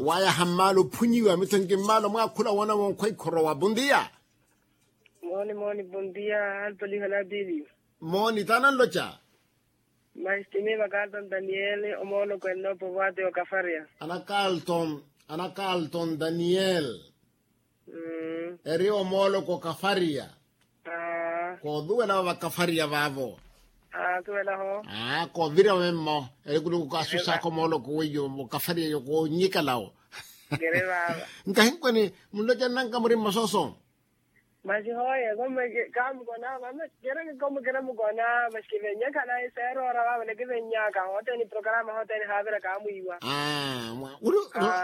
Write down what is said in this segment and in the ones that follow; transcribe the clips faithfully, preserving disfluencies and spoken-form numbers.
Wayaha mmaalo ophunyiwa mitho nki mmaalo mwaakhula woona wonkhwa ikhorowa bondia. Mooni mooni bondia. Antoliho na pili. Mooni taana nloca. Masi timiiva kalton daniel omooloko ennoopova ati okafaria. Ana kalton ana kalton daniel. Eri omooloko okafaria. Koosuwela vava kafaria vaavo. Aa koovirya vemmo. Eri kuluku kaasusaaka omooloko weiyo okafaria yo koonyikalawo. Nkahinkweni munlocananka muri mmasooso. Masi hooye. Kamukona mama kira kikomu kira mukona masi kivenyekhala iseeroora vavale kivenyaka hooteni programa hooteni haavira kaamwiiwa. Aa mwa uri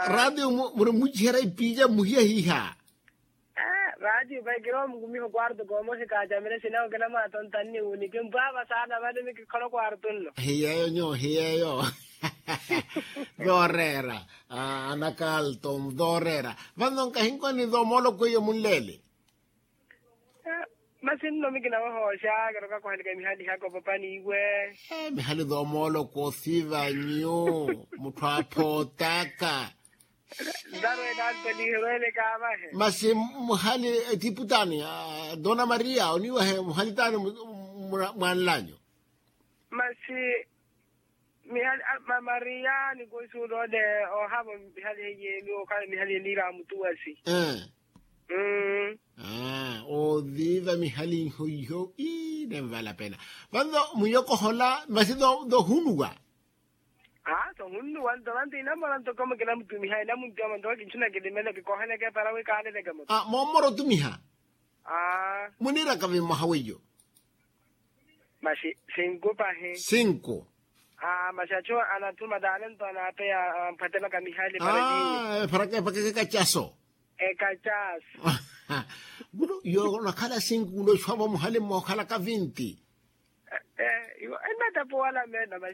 ratio muri mmuciherya ipiica mmuhiya hiiha. Ratio vaikira omukumiha okwarto koomosi kaacamire sinawo kina mwaatontanni wuni kimpwaava saana vale ni kikhola okwarto nno. Hiyeeyo nyuwo hiyeeyo. Vooreera. Ana kalto vooreera. Vanno nkahinkoni thoomoloko iyo munleele. Masi nno mikina wahooxa kiroka kuhanika mihali haka opapaniiwe. Mihali thoomoloko thiva nyu mutthu aaphootaka. Ntarwene antoliherwene kaavahe. Masi muhali etiputaani dona maria oniiwahe muhali taani mwaanlanyu. Masi mihali mamaria nikusuula ole ohavo mihali heyeni okhala mihali eniira amutuwasi. Mmm. Oviiva mihali iho iho ii nenvala pena. Vanno muyokohola masi thohunuwa. Aa sohunnuwa nto vanto inamora nto koma kinamutumiha inamuntuwa manto wakinchuna kilimelo kikoheleke para wikaaleleke moto. Moomora otumiha. Aa muniiraka vimmoha weiyo. Maxi sinku pahi. Sinku. Aa maxi achu anathuma talento anaapeya amphwatelaka mihali para epakaka ekacaso. Ekacaso. Mulu yo onakhala sinku nooxuwa vo muhali mmookhalaka vinti. Ennatapuwala meena maxi.